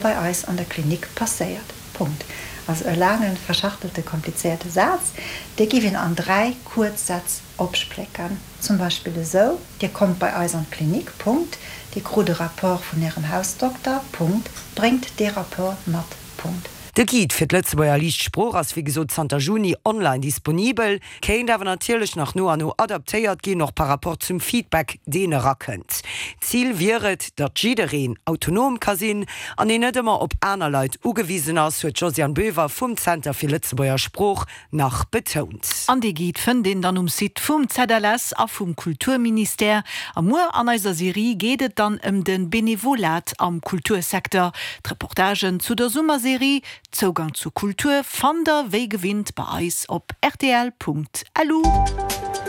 Bei eis an der Klinik passéiert. Punkt. Also e laangen, verschachtelte, komplizéierte Saz, dee giff een an 3 kuerz Sätz opsplécken. Zum Beispill esou, Dir kommt bei eis an d'Klinik. Punkt. Dir krut e Rapport vun Ärem Hausdokter. Punkt. Bréngt dee Rapport mat. Punkt. De Guide fir d'Lëtzebuerger Liicht Sprooch ass wéi gesot zanter Juni online disponibel, kéint awer natierlech nach no an no adaptéiert ginn, och par rapport zum Feedback, deen erakënnt. Zil wier et, datt jiddereen autonom ka sinn an een net ëmmer op aner Leit ugewisen ass, huet d'Josiane Boever vum Zenter fir Lëtzebuerger Sprooch nach betount. An dee Guide fënnt een dann um Site vum ZLS a vum Kulturministère. A muer an eiser Serie geet et dann ëm de Benevolat am Kultursecteur. D'Reportagen zu der Summerserie Zougang zur Kultur fannt der wéi gewinnt bei eis op rtl.lu.